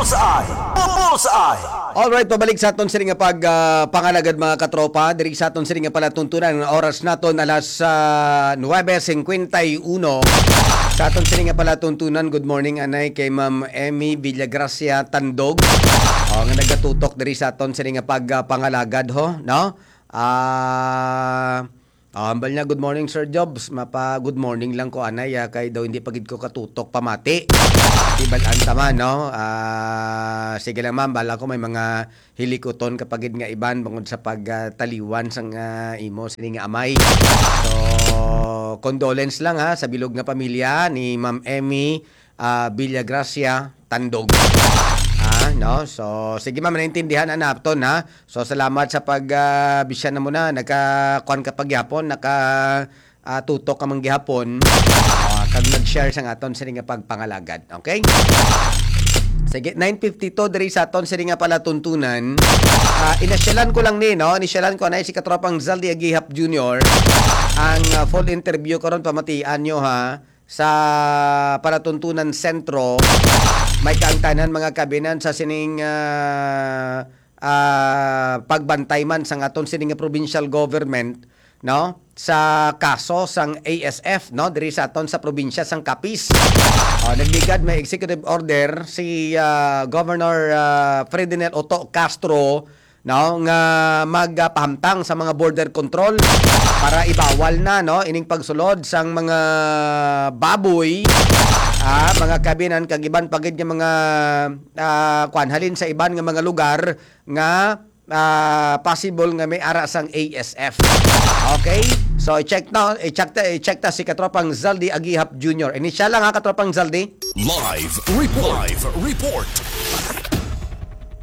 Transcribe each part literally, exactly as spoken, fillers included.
Bullseye! Bullseye! Alright, pabalik sa aton sini nga pag, ah, pangalagad, mga katropa. Diri sa aton sini nga palatuntunan, ang oras naton alas, ah, nuebe cincuenta y uno. Sa aton sini nga palatuntunan, good morning anay kay Ma'am Emmy Villagracia Tandog. Oh, nga nagatutok diri sa aton sini nga pag, ah, pangalagad ho, no? Ah, ah, hambal niya, "Good morning, Sir Jobs." Mapa good morning lang ko anay, ah, kay daw hindi pa gid ko katutok pamati. Tibal-an ta man, no? Ah, sige lang, ma'am, bala ko may mga hilikuton ka pa gid nga iban bangod sa pag, ah, taliwan sang, ah, imo sini nga amay. So, condolence lang, ha, sa bilog nga pamilya ni Ma'am Emmy, ah, Villagracia Tandog. Ha, no? So, sige, ma'am, naintindihan na naton, ha. So, salamat sa pag, ah, bisya na mo na, nagka-, kuwan ka pa gihapon, naka, ah, tutok ka man gihapon, ah, kag nag-share sang aton sini nga pagpangalagad. Okay? Sige, nine fifty-two diri sa aton sini nga palatuntunan. Ah, inasyalan ko lang ni, no? Inisyalan ko na si katropang Zaldi Agihap Junior. Ang, ah, full interview karon, pamatian nyo, ha, sa Palatuntunan Sentro. May kaangtanan, mga kabinan, sa sining, ah, ah, pagbantay man sang aton sini nga provincial government, no, sa kaso sang A S F, no, diri sa aton sa probinsya sang Capiz. Oh, nagligad may executive order si, ah, Governor, ah, Ferdinand Otto Castro, no, nga magpahamtang sa mga border control para ibawal na, no, ining pagsulod sang mga baboy, ah, mga kabinan, kag iban pa gid nga mga, ah, kwan, halin sa iban nga mga lugar nga, ah, possible nga may ara sang A S F. Okay? So, i-check na, i-check ta, i-check ta si katropang Zaldi Agihap Junior. Ini siya lang ha, katropang Zaldi. Live report. Live report.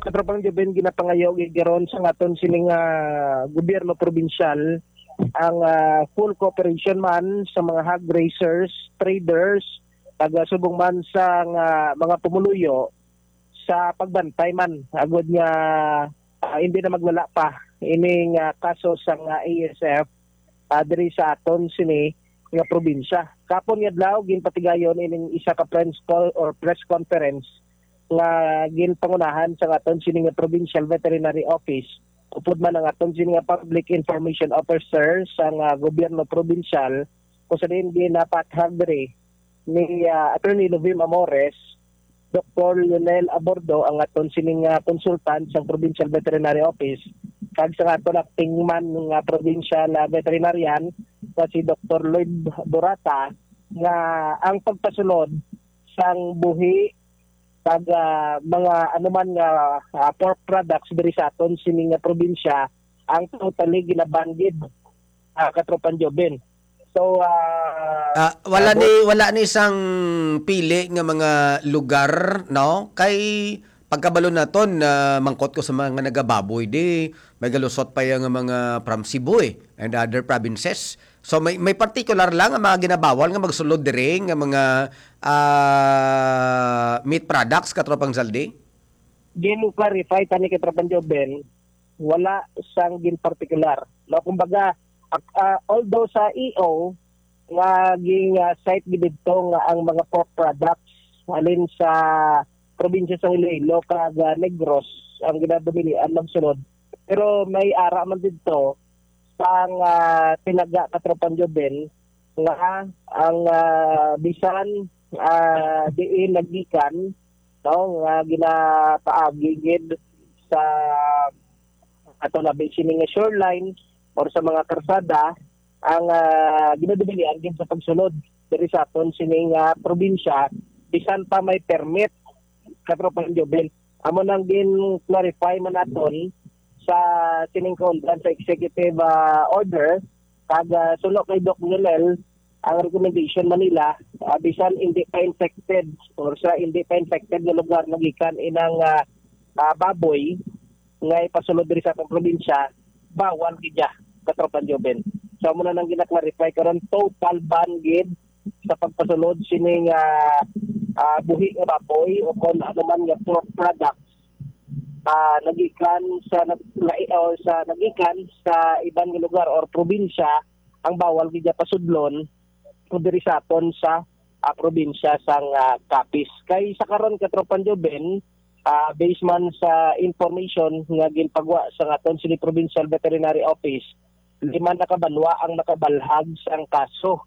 Katropang Jeben, ginapangayo gid karon sa aton sining, ah, gobyerno probinsyal ang, ah, full cooperation man sa mga hog raisers, traders, taga subong man sa nga mga pumuluyo sa pagbantay man agud nga, ah, hindi na maglala pa ining, ah, kaso sang, ah, A S F, ah, diri sa aton sini nga probinsya. Kapon nga adlaw, ginpatigayon ining isa ka press call or press conference nga ginpangunahan sa aton sini nga Provincial Veterinary Office, upod man ang aton sini nga Public Information Officer sa nga gobyerno probinsyal, kung sa diin ginapathag diri ni, ah, Attorney Lovim Amores, Doktor Lionel Abordo, ang aton sining, ah, consultant sa Provincial Veterinary Office, kag sa aton acting man nga provincial, ah, veterinarian nga si Doktor Lloyd Borata, nga ang pagpasulod sang buhi kag, ah, mga anuman nga, ah, pork products diri sa aton sining nga probinsya ang totally ginaban gid, ah, Katropang Joben. So, ah, Ah, wala ah, ni, wala ni sang pili nga mga lugar, no? Kay pagkabalo naton, ah, mangkot ko sa mga nagababoy, di may galusot pa yang mga from Cebu, eh, and other provinces. So, may, may particular lang nga mga ginabawal nga magsulod diri nga mga, ah, meat products, Katropang Zaldi? Gin-clarify tani, Katropang Joben, wala sang gin-particular. No, kumbaga, ak-, ah, although sa E O nga ging, ah, cite gid didto nga ang mga pork products halin sa probinsya sa Iloilo kag, ah, Negros ang ginadumilian magsulod, pero may ara man didto sang, ah, tinaga, Katropang Joben, nga ang, ah, bisan, ah, diin naggikan, no, nga ginapaagi gid sa ato labi sini nga shoreline or sa mga karsada ang, ah, ginadubilian gid sa pagsulod diri sa aton sini nga probinsya, bisan pa may permit, Katropang Joben. Amo nang gin-clarify man naton sa sining kaundang sa executive, ah, order, kag, ah, suno kay Doc Lionel, ang recommendation man nila, ah, bisan hindi pa infected or sa hindi pa infected nga lugar nagikan inang, ah, ah, baboy nga ipasulod diri sa atong probinsya, bawal gid ya, Katropang Joben. So, amo na nang gina-clarify karon, total ban gid sa pagpasulod sining, ah, ah, buhi nga baboy o kon ano man nga pork products, ah, nagikan sa nag-, lai-, o sa nagikan sa iban nga lugar or probinsya, ang bawal gid ya pasudlon diri sa aton sa, ah, probinsya sang, ah, Capiz. Kay sa karon, Katropang Joben, Ah, based man sa information nga ginpagwa sa aton sini Provincial Veterinary Office, lima na ka banwa ang nakabalhag sang kaso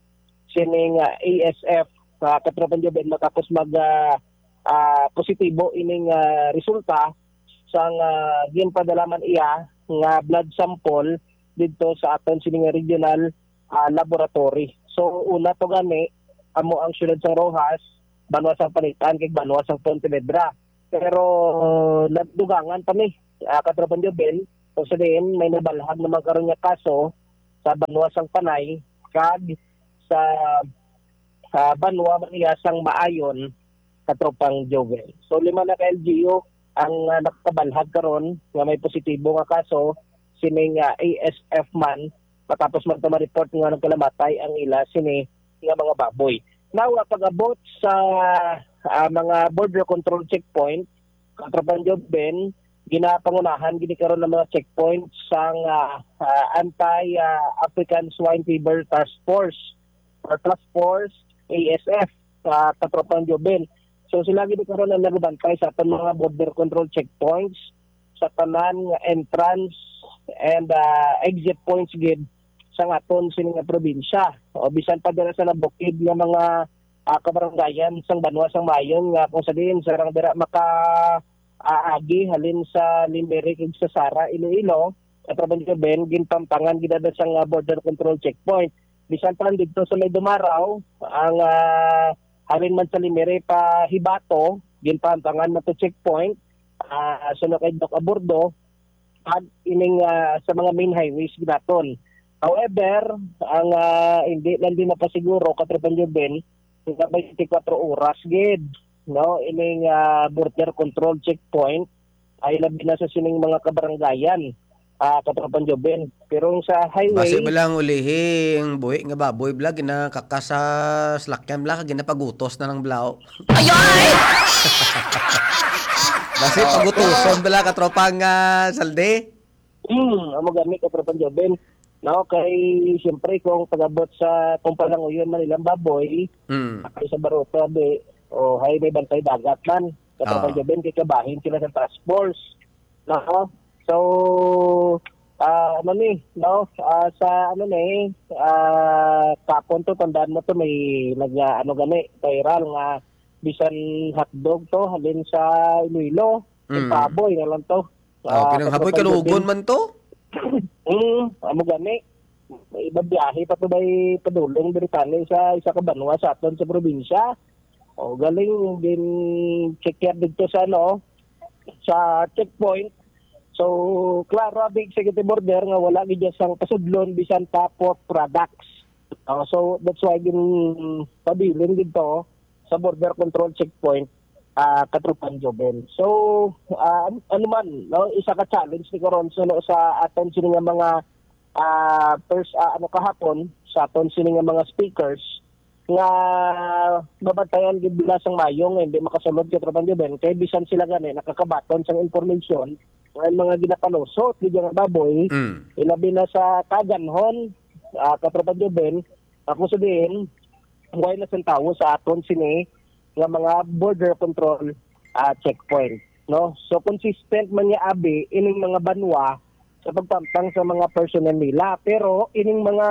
sining, ah, A S F, ah, Katropang Joven, matapos mag, ah, ah, positibo ining, ah, resulta sang, ah, ginpadala man iya nga blood sample didto sa aton sini nga regional, ah, laboratory. So, una to gani, amo ang siyudad sang Roxas, banwa sang Panitan, kag banwa sang Pontevedra. Pero nadugangan pa mi, ah, Katropang Joven, kung sa diin may nabalhag naman karon nga kaso sa banwa sang Panay kag sa, ah, banwa man iya sang Maayon, Katropang Joven. So, lima na ka L G U ang, ah, nakabalhag karon nga may positibo nga kaso sining, ah, A S F man, matapos man to ma-report nga nagkalamatay ang ila sini nga mga baboy. Now, ah, pag-abot sa, ah, mga border control checkpoint, Katropang Joven, ginapangunahan gini karon ang mga checkpoint sang, ah, ah, Anti, ah, African Swine Fever Task Force or Task Force A S F, ah, Katropang Joven. So, sila gini karon ang nagabantay sa aton mga border control checkpoints, sa tanan nga entrance and, ah, exit points gid sang aton sini nga probinsya. O bisan pa dira sa nabukid nga mga, ah, kabarangayan sang banwa sang Maayon nga kung sa diin sarang dira maka, ah, agi halin sa Limere kag sa Sara, Iloilo, Katropang Joven, ginpampangan gid ada sang, ah, border control checkpoint. Bisan pa didto sa may Dumaraw, ang, ah, halin man sa Limere pa Hibato, ginpampangan man to checkpoint, ah, suno kay Doc Aburdo, kag ining, ah, sa mga main highways gid naton. However, ang, ah, hindi lang din mapasiguro, Katropang Joven, nga twenty-four oras gid, no, ining, ah, border control checkpoint ay labi na sa sining mga kabarangayan, ah, Katropang Joven. Pero sa highway, basi ba lang ulihi ang buhi nga baboy bala ginakaka sa salakyan bala kag ginapagutos na lang bala, oh. Ay, ay! Basi pagutuson bala, Katropang, ah, Saldi? Hmm, amo gani, Katropang Joven. No, kay siyempre kung pag-abot sa, kung palanguyon man ilang baboy, Mm. ay sa Baruto, abi, o hay may bantay dagat man. Katropang Ah. Joven, kay kabahin sila sa task force. No? So, ah, ano ni, no? Ah, sa ano ni, ah, kapon to, tandaan mo to, may nag, ah, ano gani, viral nga bisan hotdog to, halin sa Iloilo, yung Mm. baboy na lang to. Oh, Ah, kinang haboy Katropang kalugon Joven. Man to? Mm, amo gani. May iba biyahe pa to bay padulong diri tani sa isa ka banwa sa aton sa probinsya. O, galing din check dito sa ano, sa checkpoint. So, klaro ang executive order nga wala gid sang pasudlon bisan pa pork products. Oh, so, that's why gin pabilin dito sa border control checkpoint, ah, Katropang Joven. So, ah, an-, ano man, no, isa ka challenge ni karon suno sa aton sini nga mga, ah, pers-, ah, ano, kahapon sa aton sini nga mga speakers nga mabantayan gid nila sang maayo nga hindi makasulod, Katropang Joven, kay bisan sila gani nakakabaton sang information nga mga ginapalusot gid nga baboy, Mm. ilabi na sa kaganhon, ah, Katropang Joven, ako sa diin, buhay na sang tawo sa aton sini nga mga border control, ah, checkpoint, no? So, consistent man niya abi ining mga banwa sa pagpamtang sa mga personnel nila. Pero ining mga,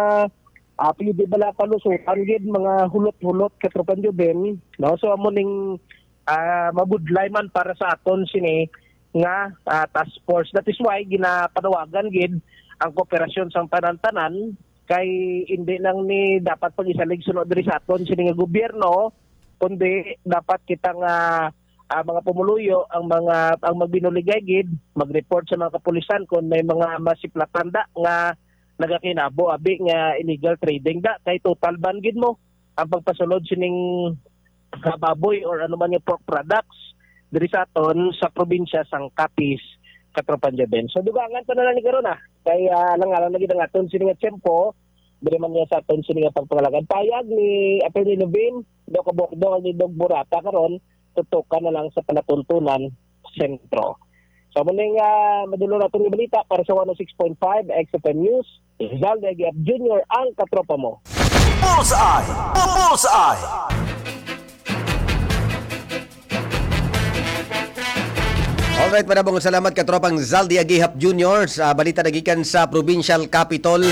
ah, pwede bala palusutan gid, mga hulot-hulot, Katropang Joven, no? So, amo ning, ah, mabudlay man para sa aton sini nga, ah, task force. That is why ginapanawagan gid ang kooperasyon sang tanan-tanan, kay hindi lang ni dapat pag-isalig suno diri sa aton sini nga gobyerno, kundi dapat kita nga, ah, mga pumuluyo, ang mga, ang magbinuligay gid, mag-report sa mga kapulisan kung may mga masiplatan da nga nagakinabo abi nga illegal trading da, kay total ban gid mo ang pagpasulod sining, ah, baboy or ano man nga pork products diri sa aton sa probinsya sang Capiz, Katropang Joven. So, dugangan pa na lang ni karon, ah. Kay, ah, alang-alang na gid ang aton sini nga tiyempo, diri man niya sa aton sini nga pagpangalagan. Payag ni Attorney Levin, Doc Aburdo, ni Doc Burata karon, tutukan na lang sa palatuntunan sentro. So, muna nga madulong natin nga balita para sa one oh six point five X F M News. Rizal de Aguiar Junior ang katropa mo. Bullseye! Bullseye! Alright, madamo nga salamat, katropang Zaldi Agihap Junior, sa balita nagikan sa Provincial Capitol.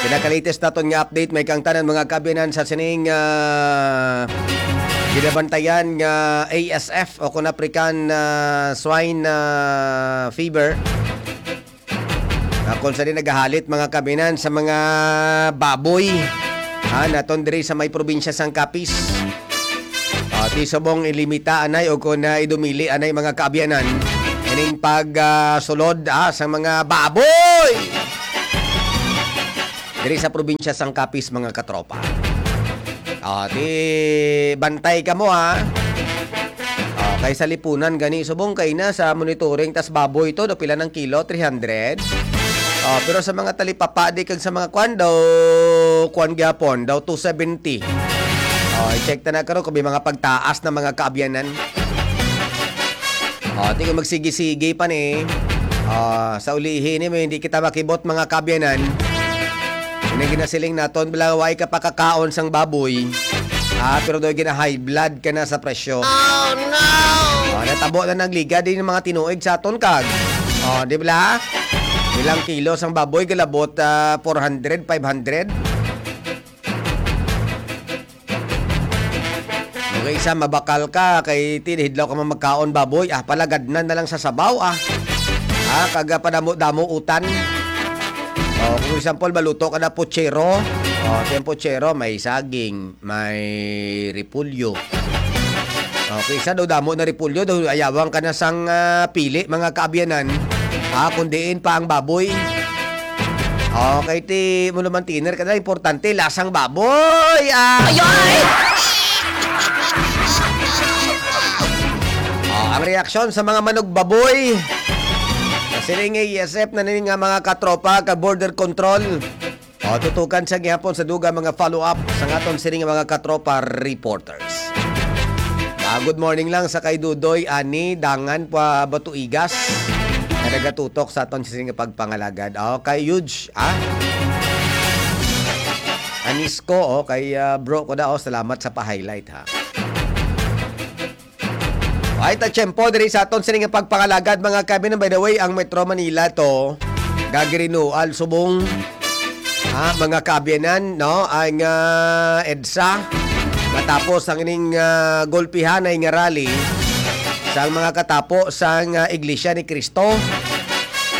Pinaka-latest naton nga update, may kang tanan mga kaabyanan sa sining, ah, ginabantayan nga A S F o kung African, ah, Swine, ah, Fever. Ah, kung sa di nagahalit mga kaabyanan sa mga baboy, ha, naton diri sa may probinsya sang Capiz. Ah, ti subong ilimita anay o kung na idumili anay mga kaabyanan, ining pag, ah, sulod, ah, sa mga baboy diri sa probinsya sang Capiz, mga katropa. Ah, ti bantay kamo, ha. Ah, kay sa lipunan gani subong kay na sa monitoring tas baboy to, do pila ng kilo, three hundred. Ah, pero sa mga talipapa di kag sa mga kwan daw, kwan gyapon daw two seventy. Ah, i-check ta na karon kung may mga pagtaas na mga kaabyanan. Ah, ti kung magsigi-sigi pa ni, ah, sa ulihi ni, may hindi kita makibot mga kaabyanan. Ini ginasiling naton, bala, way ka pakakaon sang baboy. Ah, pero daw gina-high blood ka na sa presyo. Oh, no! Ah, natabo na nagligad din mga tinuig sa aton kag. Oh, di bala? Ilang kilo sang baboy galabot, ah, four hundred, five hundred. Okay, isa mabakal ka kay tinihidlaw ka man magkaon baboy, ah, palagadnan na lang sa sabaw, ah. Ah, kaga padamo-damo utan. Oh, kung example, maluto ka na puchero. Oh, yung puchero, may saging, may repolyo. Okay, sa daw damo na repolyo, daw ayawang ka na sang, ah, pili, mga kaabyanan. Ah, kung diin pa ang baboy. Okay, ti mo naman tiner ka na, importante, lasang baboy. Ah. Ay, ay! Oh, ang reaksyon sa mga manok baboy. Kasi ning A S F na ning nga mga katropa ka border control. O, tutukan sa gihapon sa dugang mga follow-up sa aton sini nga mga katropa reporters. Ah, good morning lang sa kay Dudoy, Ani, Dangan, pa Batuigas, na nagatutok sa aton sini nga pagpangalagad. O, kay Yuj, ah? Anisco, o, kay, ah, bro ko na, o, salamat sa pa-highlight, ha. Ay, ta tiyempo diri sa aton sini nga pagpangalagad, mga kaabyanan. By the way, ang Metro Manila to, gagirinual subong, ha, mga kaabyanan, no? Ang, ah, EDSA, matapos ang ining, ah, gulpihanay nga rally sang mga katapo sang, ah, Iglesia ni Cristo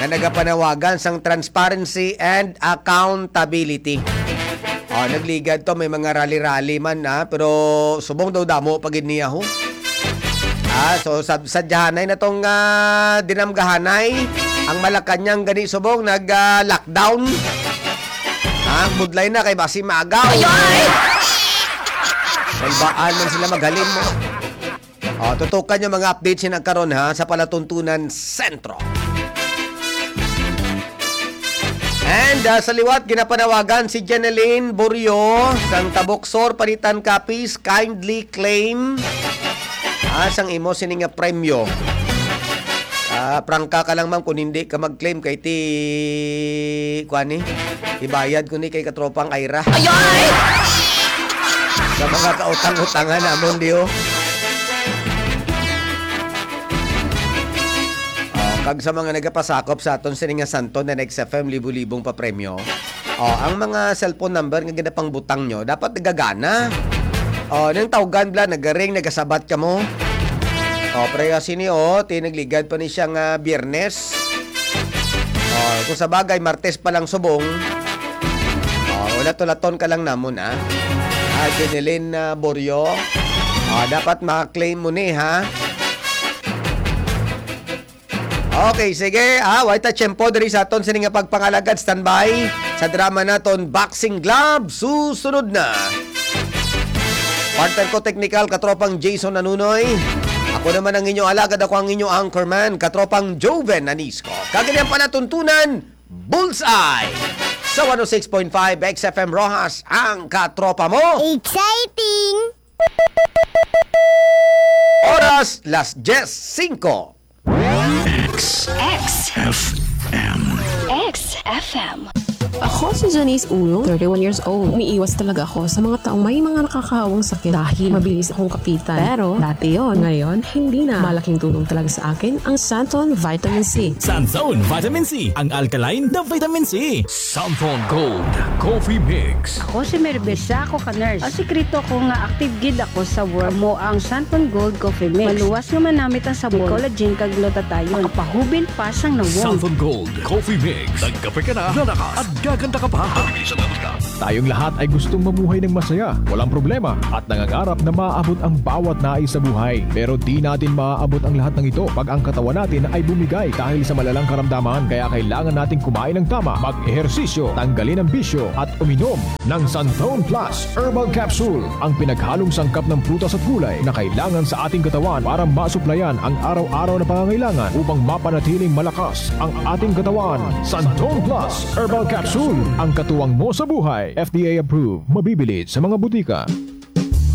nga nagapanawagan sang transparency and accountability. Oh, nagligad to, may mga rally-rally man, ah, pero subong daw damo pa gid niya, ho. Ah, so, sad-, sadyahanay na tong, ah, dinamgahanay. Ang Malacañang gani subong nag, ah, lockdown. Ah, budlay na kay basi maagaw. Ay, ay! Salbaan man sila maghalin mo. Oh, tutukan yung mga updates sina karon, ha, sa Palatuntunan Sentro. And, ah, sa liwat, ginapanawagan si Jeneline Borio sang Taboksor, Panitan, Capiz, kindly claim, ah, sang imo sini nga premyo. Ah, prangka ka lang, ma'am, kung hindi ka mag-claim kay ti, kuan ni, ibayad ko ni kay katropang Ira. Ay, ay! Sa mga kautang-utangan namon, di, oh. Oh, kag sa mga nagapasakop sa aton sini nga Santo na Next F M, libo-libong papremyo. Oh, ang mga cellphone number nga ginapangbutang nyo, dapat nagagana. Oh, nang tawgan bla, nagaring, nagasabat ka mo. Oh, pero sini, oh, tinagligad pa ni siya nga Biyernes. Oh, kung sa bagay, Martes pa lang subong. Oh, ulat-ulaton ka lang namon, ah. Ah, Jeneline, ah, Borio. Ah, dapat ma-claim mo ni, ha? Okay, sige. Ah, way ta tiyempo diri sa aton sini nga pagpangalagad. Standby sa drama naton, Boxing Glove. Susunod na. Partner ko technical, katropang Jason Nanunoy. Ako naman ang inyo alagad, ako ang inyo anchorman, katropang Joven Anisco. Kag ini ang palatuntunan, Bullseye. Sa one oh six point five X F M Roxas, ang katropa mo. Exciting! Oras, las diez singko. X X F M. X F M. Ako si Janice Ulong, thirty-one years old. Umiiwas talaga ako sa mga taong may mga nakakahawang sakit dahil mabilis akong kapitan. Pero dati yon, ngayon hindi na. Malaking tulong talaga sa akin ang Santon Vitamin C. Santon Vitamin C, ang alkaline na vitamin C. Santon Gold Coffee Mix. Ako si Mervin, isa ako ka nurse. Ang sikreto ko nga active gid ako sa work mo ang Santon Gold Coffee Mix. Maluwas nga manamit ang sabor, collagen kag glutathione. Ang pahubil pa sang nawong. Santon Gold Coffee Mix. Nagkape ka na, lalakas at gaganda ka pa. Mabilis ang abot ka. Tayong lahat ay gustong mamuhay ng masaya, walang problema, at nangangarap na maabot ang bawat nais sa buhay. Pero di natin maaabot ang lahat ng ito pag ang katawan natin ay bumigay dahil sa malalang karamdaman. Kaya kailangan nating kumain ng tama, mag-ehersisyo, tanggalin ang bisyo, at uminom ng Santon Plus Herbal Capsule, ang pinaghalong sangkap ng prutas at gulay na kailangan sa ating katawan para masuplayan ang araw-araw na pangangailangan upang mapanatiling malakas ang ating katawan. Santon Plus Herbal Capsule, ang katuwang mo sa buhay. F D A approved, mabibili sa mga butika.